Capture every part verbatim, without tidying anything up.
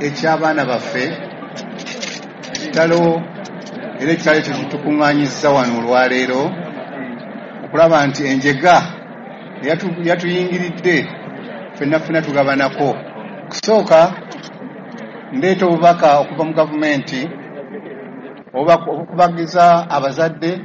eky'abaana baffe, kitalo, era ekitalo ekyo kitukuŋŋaanyizza wano olwaleero okulaba nti enjega yatuyingiridde ffenna ffenna tugabanako. Okusooka ndeeta obubaka okuva mu gavumenti obukubagiza abazadde,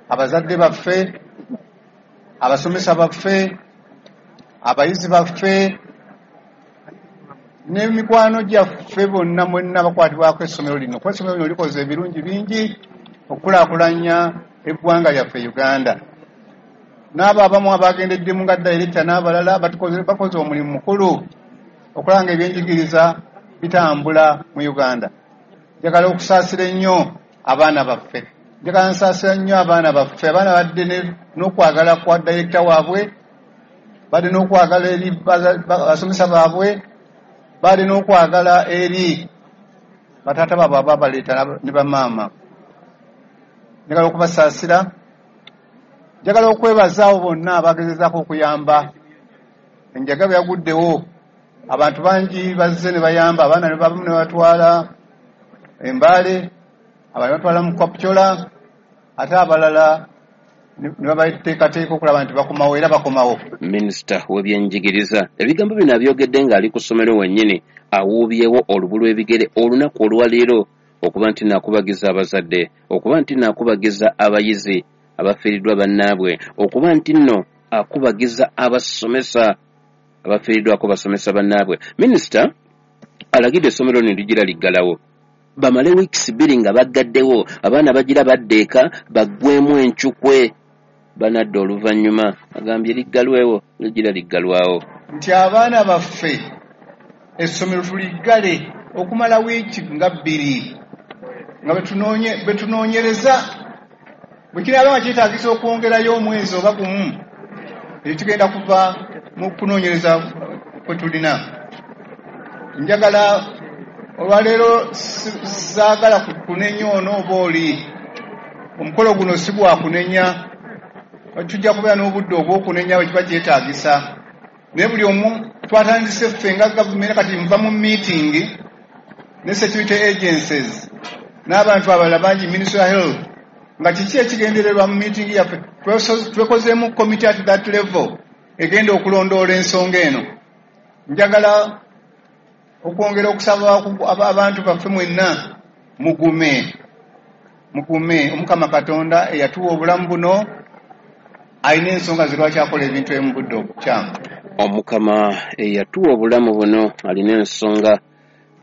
abazadde baffe, abasomesa baffe, abayizi baffe n'emikwano gyaffe bonna mwenna bakwatibwako essomero lino, kuba essomero lino likoze ebirungi bingi okukulaakulanya eggwanga lyaffe Uganda. N'abo abamu abagendeddemu nga dayirekita n'abalala bakoze omulimu mukulu okulaba nga ebyenjigiriza bitambula mu Uganda. Njagala okusaasira ennyo abaana baffe, njagala nsaasira nnyo abaana baffe. Abaana badde n'okwagala kwa dayirekita waabwe, badde n'okwagala eri abasomesa baabwe, badde n'okwagala eri bataata baabwe ababaleeta ne bamaama. Njagala okubasaasira, njagala okwebaza abo bonna abagezezaako okuyamba. Enjaga bwe yaguddewo abantu bangi bazze ne bayamba, abaana ne babamu ne batwala Embaale, abalala batwala mu Kapchorwa, ate abalala ne babateekateeka okulaba nti bakomawo, era bakomawo. Minisita w'ebyenjigiriza ebigambo bino abyogedde ng'ali ku ssomero wennyini, awuubyewo olubu lw'ebigere olunaku olwaleero okuba nti naakubagiza abazadde, okuba nti naakubagiza abayizi abafiiriddwa bannaabwe, okuba nti nno akubagiza abasomesa abafiiriddwako basomesa bannaabwe. Minisita alagidde essomero lino ligira liggalawo bamale wiikisi bbiri nga baggaddewo, abaana bagira badda eka baggwemu encukwe banadda oluvannyuma. Agambye liggalwewo, ligira liggalwawo. Nti abaana baffe essomero tuliggale okumala wiiki nga bbiri nga betunoonyereza, bwe kinaaba nga kyetaagisa okwongerayo omwezi oba gumu, ekyo kigenda kuva mu kunoonyereza kwe tulina. Njagala olwaleero saagala kunenya ono oba oli, omukolo guno si gwa kunenya, tujja kubeera n'obudde obw'okunenya bwe kiba kyetaagisa. Naye buli omu twatandise ffe nga gavumenti, kati nva mu meeting ne security agencies n'abantu abalala bangi, Ministry of Health, nga kiki ekigendererwa mu meeting yaffe. Twekozeemu committee at that level egenda okulondoola ensonga eno. Njagala okwongera okusaba abantu baffe mwenna mugume, mugume. Omukama Katonda eyatuwa obulamu buno alina ensonga ze lwaki akola ebintu ebimu budde obukyamu. Omukama eyatuwa obulamu buno alina ensonga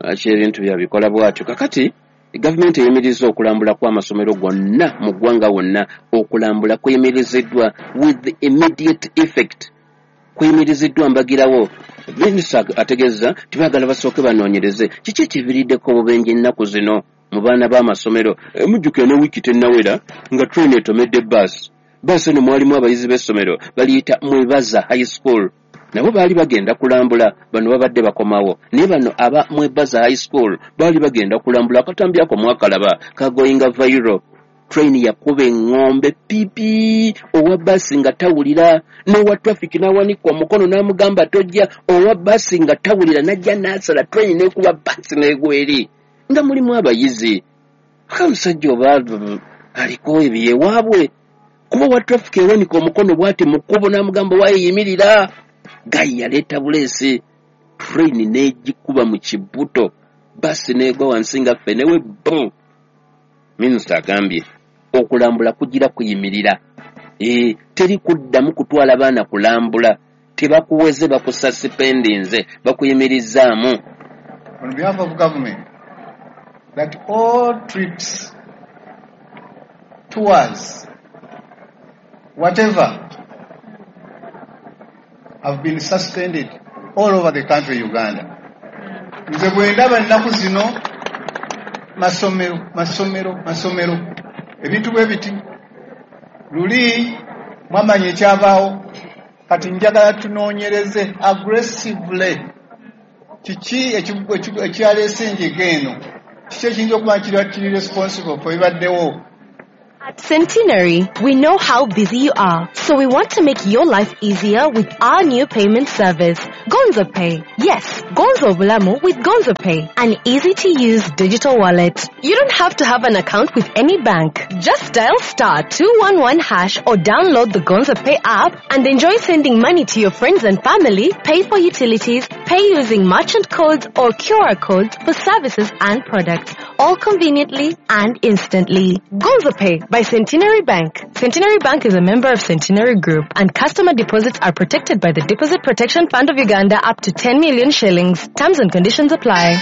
lwaki ebintu byabikola bw'atyo. Kakati gavumenti eyimiriza okulambula kw'amasomero gonna mu ggwanga wonna. Okulambula kuyimiriziddwa with immediate effect, kuyimiriziddwa mbagirawo. Minisita ategeeza tibaagala basooke banoonyereze kiki ekiviiriddeko obubenje ennaku zino mu baana b'amasomero. Mujjukira ne wiiki tennawera nga train etomedde baasi. Baasi eno mwalimu abayizi b'essomero baliyita Mwebaza High School, nabo baali bagenda kulambula, bano babadde bakomawo. Naye bano aba Mwebaza High School baali bagenda kulambula, akatambi ako mwakalaba kagoyinga viral. Train yakuba eŋŋombe pipi, owa baasi nga tawulira, n'owa traffic n'awanika omukono n'amugamba tojja, owa baasi nga tawulira n'ajja n'asala train n'ekuba baasi n'egwa eri nga mulimu abayizi. Akamusajja oba aliko ebyewaabwe, kuba owa traffic ewanika omukono bw'ati mu kkubo n'amugamba waayiyimirira. Gayi yaleeta buleesi, train n'egikuba mu kibuto, baasi n'egwa wansi nga ffe newe bum. Minisita agambye okulambula kugira kuyimirira, e, teri kuddamu kutwala baana kulambula, tebakuweze bakususpendinze, bakuyimirizaamu. On behalf of government, that all trips, tours, whatever, have been suspended all over the country Uganda. Nze bwe ndaba ennaku zino masomero, masomero, masomero, ebintu bwe biti. Luli mwamanya ekyabaawo, kati njagala tunoonyereze aggressively kiki ekyaleese enjega eno, kiki ekiyinza okuba kiri responsible for ebibaddewo. At Centenary, we know how busy you are, so we want to make your life easier with our new payment service, Gonzo Pay. Yes, Gonzo Bulamu with Gonzo Pay, an easy-to-use digital wallet. You don't have to have an account with any bank. Just dial star two one one hash or download the Gonzo Pay app and enjoy sending money to your friends and family, pay for utilities, pay using merchant codes or Q R codes for services and products, all conveniently and instantly. Gonzo Pay by Centenary Bank. Centenary Bank is a member of Centenary Group, and customer deposits are protected by the Deposit Protection Fund of Uganda up to ten million shillings. Terms and conditions apply.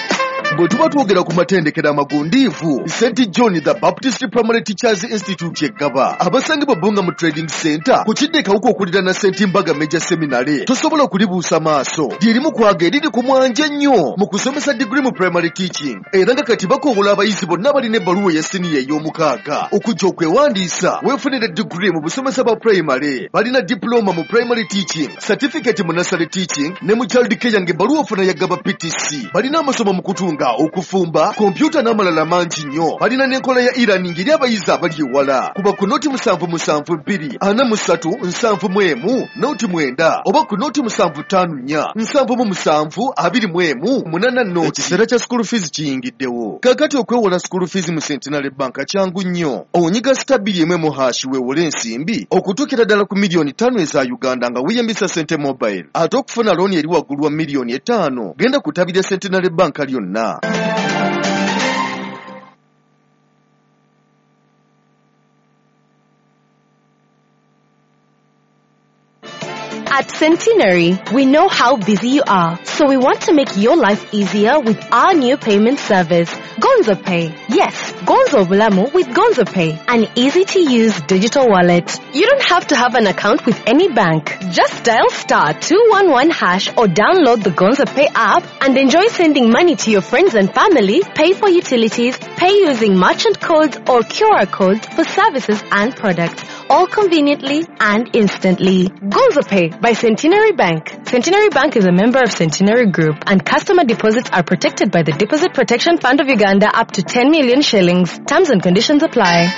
Bwe tuba twogera ku matendekero amagundiivu, Saint John the Baptist Primary Teachers Institute Eggaba, abasangibwa Bbunga mu Trading Center ku kidde Kawuka okuliraana Saint Mbaga Major Seminary, tosobola kulibuusa maaso. Lyerimu kwaga eriri ku mwanje ennyo mu kusomesa degree mu primary teaching, era nga kati bakoowola abayizi bonna balina ebbaluwa eya siniya ey'omukaaga okujja okwewandiisa weefunire degree mu busomesa bwa primary. Balina diploma mu primary teaching, certificate mu nursery teaching ne mu child care ng'ebbaluwa ofuna ya Gaba P T C. Balina amasomo mu kutunga, okufumba, kompyuta n'amalala mangi nnyo. Balina n'enkola ya e-learning eri abayizi abali ewala. Kuba ku noti musanvu musanvu bbiri ana mu ssatu nsanvu mu emu noti mwenda oba ku noti musanvu ttaano nnya nsanvu mu musanvu abiri mu emu munaana noti. Ekiseera kya school fees kiyingiddewo. Kaakati okwewola school fees mu Centenary Bank kyangu nnyo. Onyiga star bbiri emu emu hash weewole ensimbi okutuukira ddala ku miliyoni ttaano eza Uganda nga weeyambisa Sente Mobile. Ate okufuna looni eri waggulu wa miliyoni etaano genda ku ttabi lya Centenary Bank lyonna. At Centenary, we know how busy you are, so we want to make your life easier with our new payment service, Gonzo Pay. Yes, Gonzo Bulamu with Gonzo Pay, an easy-to-use digital wallet. You don't have to have an account with any bank. Just dial star two one one hash or download the Gonzo Pay app and enjoy sending money to your friends and family, pay for utilities, pay using merchant codes or Q R codes for services and products, all conveniently and instantly. Gonzo Pay by Centenary Bank. Centenary Bank is a member of Centenary Group, and customer deposits are protected by the Deposit Protection Fund of Uganda up to ten million shillings. Terms and conditions apply.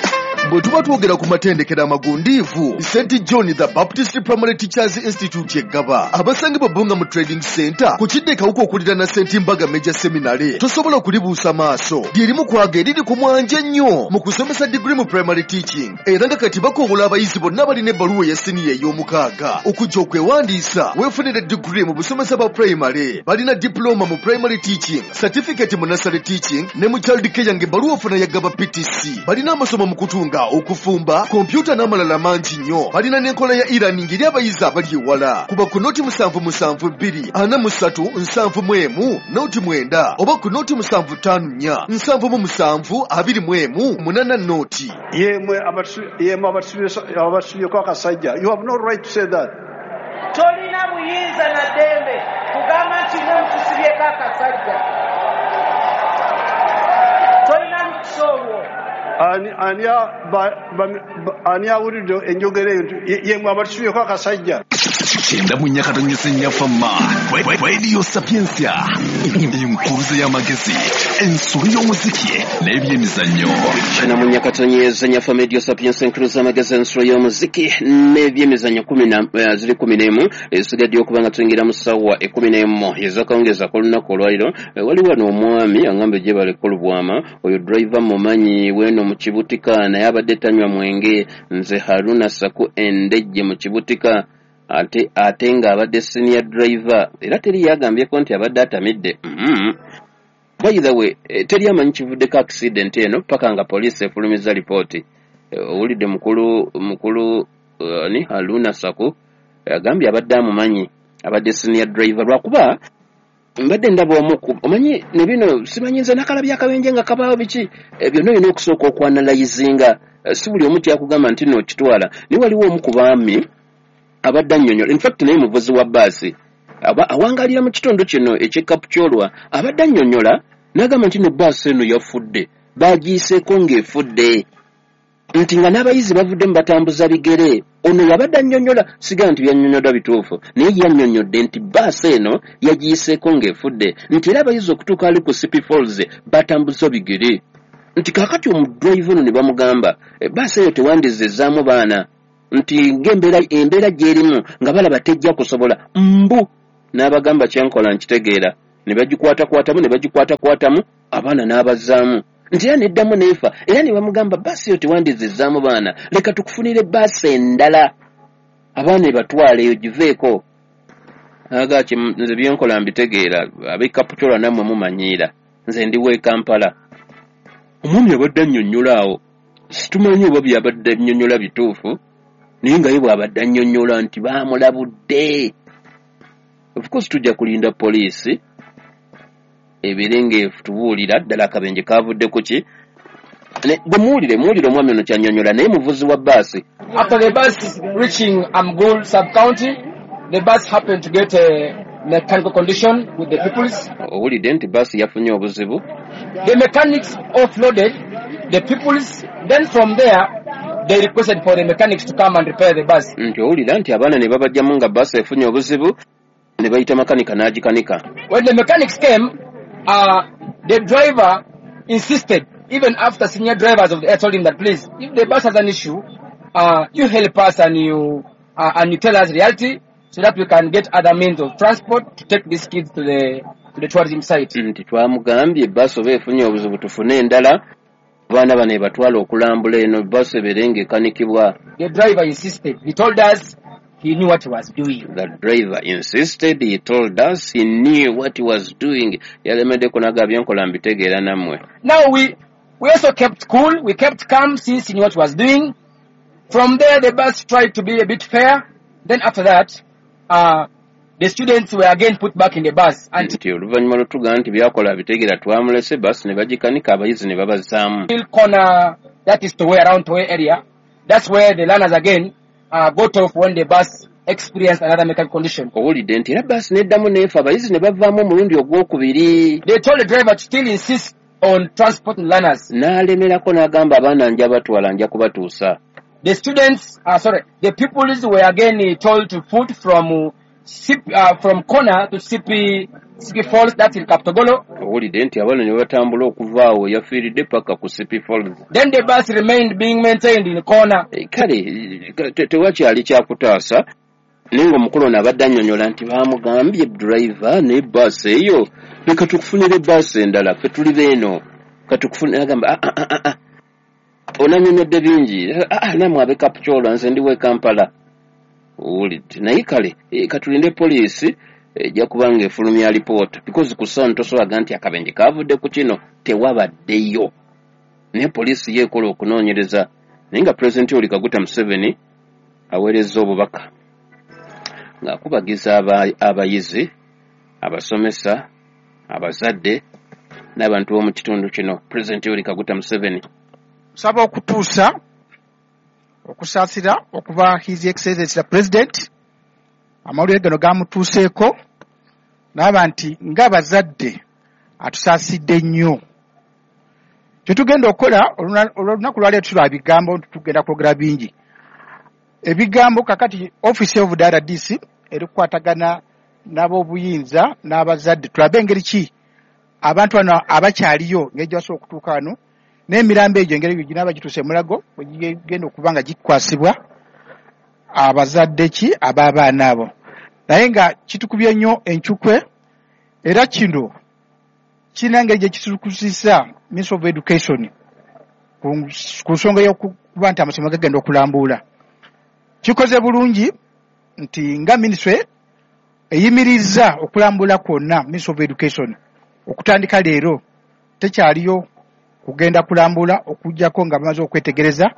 Bwe tuba twogera ku matendekero amagundiivu, Saint John the Baptist Primary Teachers Institute Eggaba, abasangibwa Bbunga mu Trading Center ku kidde Kawuka okuliraana Saint Mbaga Major Seminary, tosobola kulibuusa maaso. Lyerimu kwaga eriri ku mwanje ennyo mu kusomesa degree mu primary teaching, era nga kati bakoowola abayizi bonna balina ebbaluwa eya siniya ey'omukaaga okujja okwewandiisa weefunire degree mu busomesa bwa primary. Balina diploma mu primary teaching, certificate mu nursery teaching ne mu child care ng'ebbaluwa ofuna ya Gaba P T C. Balina amasomo mu kutunga, okufumba, kompyuta n'amalala mangi nnyo. Balina n'enkola ya e-learning eri abayizi abali ewala. Kuba ku noti musanvu musanvu bbiri ana mu ssatu nsanvu mu emu noti mwenda oba ku noti musanvu ttaano nnya nsanvu mu musanvu abiri mu emu munaana noti. Yemwe abatusubyeko akasajja, you have no right to say that. Tolina buyinza na ddembe kugamba nti mwe mutusibyeko akasajja. Tolina lukusa olwo. Ani awulidde enjogera eyo yemwe abatusubyeko akasajja. Kyenda mu nnya katonyese nnyafamma Radio Sapientia, enkuruze y'amagezi, ensolo y'omuziki n'ebyemizannyo. Kyenda mu nnya katonyeze nnyafamma Radio Sapientia, enkuruze y'amagezi, ensolo y'omuziki n'ebyemizannyo kumi na ziri kumi n'emu esigadde okuba nga tuyingira mu ssaawa ekkumi n'emu ez'akawungeezi ak'olunaku olwaliro. Waliwo wano omwami aŋŋambye gye baleka olubwama, oyo driver mumanyi weeno mu Kibutika, naye abadde tanywa mwenge. Nze Haruna Saku Endejje mu Kibutika, ate ate ng'abadde senior driver, era teri yagambyeko nti abadde atamidde. Mm-hmm. By the way, teri amanyi kivuddeko accident eno paka nga poliisi efulumizza lipooti. Owulidde mukulu mukulu uh, ni Haruna Saku agambye abadde amumanyi, abadde senior driver, lwakuba mbadde ndaba omu omanyi ne bino simanyi nze nakalabye akabenje nga kabaawo biki byonna olina okusooka okwanalayizinga, si buli omu kyakugamba nti nno okitwala. Naye waliwo omu ku baami abadde annyonnyola, in fact naye muvuzi wa bbaasi awangalira mu kitundu kino eky'e Kapchorwa, abadde annyonnyola n'agamba nti no bbaasi eno yafudde, baagiyiseeko ng'efudde, nti nga n'abayizi bavuddemu batambuza bigere. Ono yabadde annyonnyola, sigala nti byannyonnyoddwa bituufu, naye yannyonnyodde nti bbaasi eno yagiyiseeko ng'efudde, nti era abayizi okutuuka ali ku Sipi Falls batambuza bigere, Nti kaakati omudrive ono ne bamugamba baasi eyo tewandizizaamu baana, nti ng'embeera embeera gy'erimu nga balaba tejja kusobola. Mbu n'abagamba kyenkola nkitegeera, ne bagikwatakwatamu ne bagikwatakwatamu abaana n'abazzaamu, nti era neddamu n'efa. Era ne bamugamba baasi eyo tewandizizaamu baana, leka tukufunire baasi endala abaana ebatwale eyo giveeko. Agaki nze byenkola mbitegeera, ab'e Kapchorwa nammwe mumanyiira, nze ndi w'e Kampala. Omwami abadde annyonnyola awo, situmanyi oba byabadde annyonnyola bituufu, naye nga ye bw'abadde annyonnyola nti baamulabudde. Of course tujja kulinda poliisi ebeere ng'etubuulira ddala akabenje kavudde ku ki. Bwe muwulire muwulire omwami ono ky'annyonnyola, naye muvuzi wa bbaasi. After the bus reaching Amgul sub-county, the bus happened to get a mechanical condition with the pupils. Owulidde nti bbaasi yafunye obuzibu. The mechanics offloaded the pupils, then from there they requested for the mechanics to come and repair the bus. Nti owulira nti abaana ne babajjamu nga bbaasi efunye obuzibu, ne bayita makanika n'agikanika. When the mechanics came, uh, the driver insisted, even after senior drivers of the air told him that, please, if the bus has an issue, uh, you help us and you, uh, and you tell us reality so that we can get other means of transport to take these kids to the, to the tourism site. Nti twamugambye bbaasi oba efunye obuzibu tufune endala, abaana bano ebatwala okulambula eno bbaasi ebeere ng'ekanikibwa. The driver insisted. He told us he knew what he was doing. The driver insisted. He told us he knew what he was doing. Yalemeddeko n'agamba byenkola mbitegeera nammwe. Now we, we also kept cool. We kept calm since he knew what he was doing. From there, the bus tried to be a bit fair. Then after that, uh, the students were again put back in the bus. Nti oluvannyuma lw'otugamba nti byakola bitegeera twamulese basi ne bagikanika abayizi ne babazzaamu. Corner, that is Towe, around Towe area. That's where the learners again uh, got off when the bus experienced another mechanical condition. Owulidde nti era basi neddamu n'efa abayizi ne bavaamu omulundi ogwokubiri. They told the driver to still insist on transporting learners. N'alemerako n'agamba abaana nja batwala nja kubatuusa. The students, uh, sorry, the pupils were again told to put from uh, uh, from corner to Sipi, Sipi Falls, that's in Kaptogolo. Owulidde nti abaana ne batambula okuva awo yafiiridde paka ku Sipi Falls. Then the bus remained being maintained in the corner. Kale tewakyali kyakutaasa, naye ng'omukulu ono abadde annyonnyola nti baamugambye driver ne bbaasi eyo leka tukufunire bbaasi endala ffe tuli beeno katukufunire. Agamba ah ah ah onannyonnyodde bingi, ah nammwe ab'e Kapchorwa nze ndi w'e Kampala. Owulidde naye kale katulinde poliisi ejja kuba ng'efulumya alipoota, because ku ssaawa tosobola nti akabenje kavudde ku kino, tewabaddeyo. Naye poliisi ye ekola okunoonyereza, naye nga Pulezidenti Yoweri Kaguta Museveni aweerezza obubaka ng'akubagiza abayizi, abasomesa, abazadde n'abantu b'omu kitundu kino. Pulezidenti Yoweri Kaguta Museveni nsaba okutuusa okusaasira okuva His Excellency the President amawulire gano gamutuuseeko n'aba nti ng'abazadde atusaasidde nnyo. Kyetugenda okukola olunaku lwaleero tulwa bigambo nti tugenda kwogera bingi. Ebigambo kakati Office of the R D C erikukwatagana n'ab'obuyinza n'abazadde tulabe engeri ki abantu bano abakyaliyo engeri gye basobola okutuuka wano n'emirambo egyo engeri ginaaba gituuse Mulago bwe gigenda okuba nga gikwasibwa abazadde ki ab'abaana abo. Naye nga kitukubye nnyo encukwe, era kino kirina engeri gye kitukusisa Ministry of Education ku nsonga y'okuba nti amasomero gagenda okulambuula. Kikoze bulungi nti nga minisitule eyimirizza okulambula kwonna Ministry of Education okutandika leero tekyaliyo kugenda kulambula okuggyako nga bamaze okwetegereza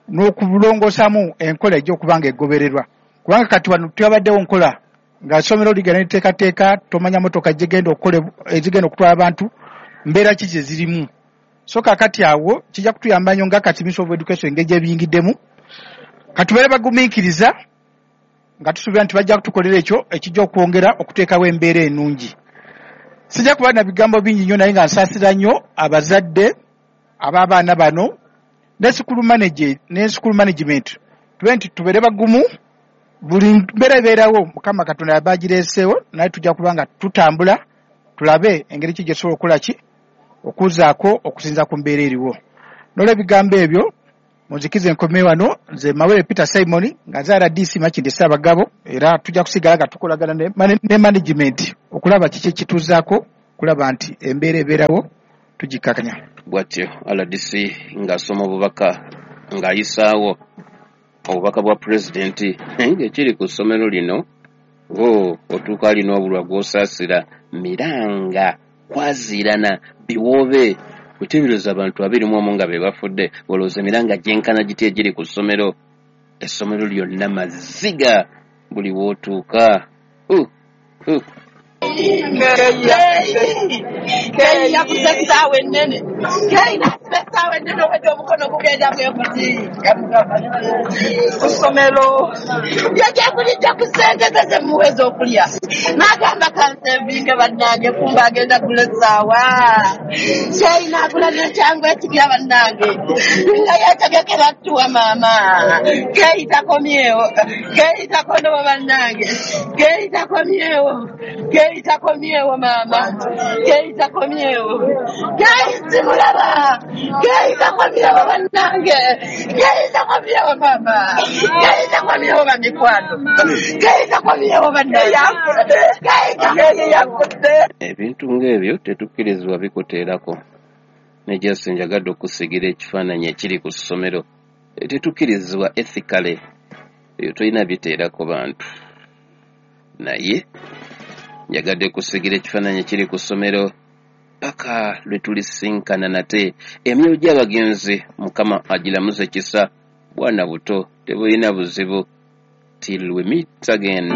n'okulongoosamu enkola ejja okuba nga egobererwa, kubanga kati wano tewabaddewo nkola nga ssomero ligenda liteekateeka tomanya motoka gigenda okukola ezigenda okutwala abantu mbeera ki gye zirimu. So kakati awo kijja kutuyamba nnyo nga kati Ministry of Education engeri gyebiyingiddemu katubeere bagumiikiriza nga tusuubira nti bajja kutukolera ekyo ekijja okwongera okuteekawo embeera ennungi. Sijja kuba na bigambo bingi nnyo, naye nga nsaasira nnyo abazadde ab'abaana bano ne school manager ne school management tube nti tubeere bagumu buli mbeera ebeerawo Mukama Katonda yaba agireeseewo, naye tujja kuba nga tutambula tulabe engeri ki gye tusobola okukola ki okuzaako okusinza ku mbeera eriwo. N'olw'ebigambo ebyo munzikize nkome wano. Nze Mawere Peter Simon nga nze R D C Makindye Ssaabagabo, era tujja kusigala nga tukolagana ne, ne management okulaba kiki ekituuzaako okulaba nti embeera ebeerawo tugikakanya. Bw'atyo R D C ng'asoma obubaka ng'ayisaawo obubaka bwa pulezidenti ng'ekiri ku ssomero lino, o otuuka alina obulwa gw'osaasira miranga kwaziirana biwoobe kuteebereza abantu abiri mu omu nga be bafudde. Olowooza emiranga gyenkana giti egiri ku ssomero? Essomero lyonna maziga buli w'otuuka. Uh, uh. Keyi yakuze essaawa ennene, Keyi n'asiba essaawa ennene obwedde omukono gugenda bwe guti ku ssomero. Yajja ku ssente ze ze muweza okulya, n'agamba kansevinge bannange, kumba agenda gula essaawa. Keyi n'agula n'ekyangu ekipya bannange, nga yeetegekera ttuwa maama. Keyi takomyewo, Keyi takonowa bannange, Keyi takomyewo, Keyi takomyewo maama, Keyi takomyewo, Keyi simulaba, Keyi takomyewo bannange, Keyi takomyewo maama, Keyi takomyewo bamikwano, Keyi takomyewo bannange, Keyi takomyewo. Ebintu ng'ebyo tetukkirizibwa bikuteerako. Ne Jesse njagadde okusigira ekifaananyi ekiri ku ssomero. Tetukkirizibwa ethically, ebyo tolina biteerako bantu. Naye njagadde kusigira ekifaananyi ekiri ku ssomero paka lwe tulisinkana nate. Emyoyo gy'abagenzi Mukama agiramuze kisa, bwana buto tebulina buzibu. Till we meet again,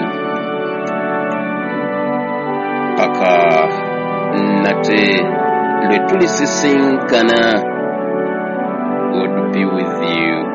paka nate lwe tulisisinkana. God be with you.